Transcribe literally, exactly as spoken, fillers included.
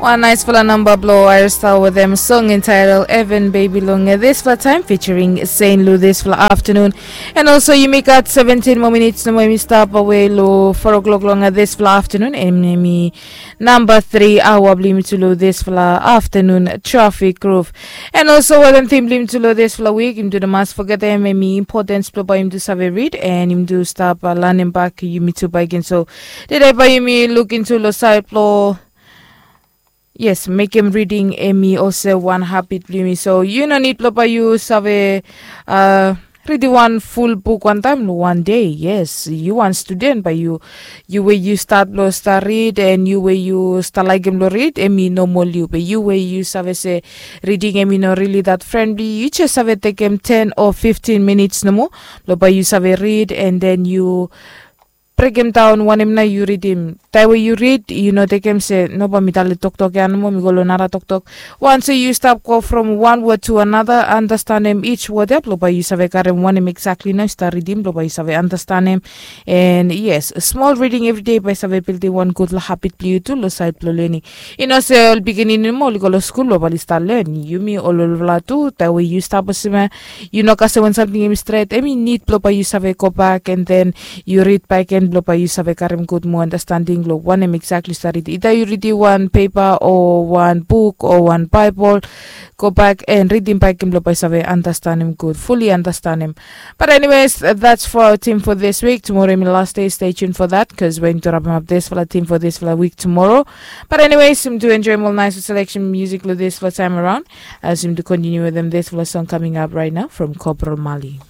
Wan naisfala namba blong Aerostar wetem song entitled Heaven Baby long dispela taim featuring Saint Lou dispela afternoon. And also yumi gat seventeen more minutes nomo yumi stap awe long four o'clock long dispela afternoon, and yumi namba three awa bilong yumi tu long dispela afternoon traffic roof. And also wetem theme bilong yumi tu long dispela week, yumi tu mas fogetem em importance bilong bai yumi tu save read and yumi tu stap uh, lanem bak yumi tu baiken. So today bai yumi look into long side bilong yes, mekem reading em i olsem wan habit bilong yumi. So yu no nid bilong bai yu save uh, reading wan full buk wantaim long wan day. Yes, yu wan student bai yu yu we yu start bilong start read and yu we yu start laikim bilong read em i normal yu, be yu we yu save se reading em i no really that friendly, yu just save tekem ten or fifteen minutes nomo bilong bai yu save read and then yu brekem daun wanem na yu ridim. Taim we yu rid yu no tekem se noba mi dali toktok ya nomo mi go long nara toktok. Wans yu stap go from wan wod tu another, andastanem each wod ya bilong bai yu save karim wanem exactly na yu stap ridim bilong bai yu save andastanem. And yes, small reading everyday bai save bildim wan gutpela habit bilong yu tu long sait bilong learning. I no se ol pikinini mo oli go long skul bilong bai oli stap len. Yumi ol olfala tu taim we yu stap olsem ya, yu no kasem wan samting em i stret, em i nid bilong bai yu save go bak and then yu rid baik gen bilong bai yu save karim gut moa andastanding long wanem exactly yu stap ridim. Ida yu ridim wan pepa o wan buk o wan baibel, go bak and ridim baik gen bilong bai yu save andastanim gut, fully andastanim. But anyways, that's for our team for this week. Tomorrow em i last day, stay tuned for that because we're going to wrap up this for the team for this for the week tomorrow. But anyways, yumi tu enjoy more nice selection music long this for time around. As yumi tu continue with them this for the song coming up right now from Corporal Mali.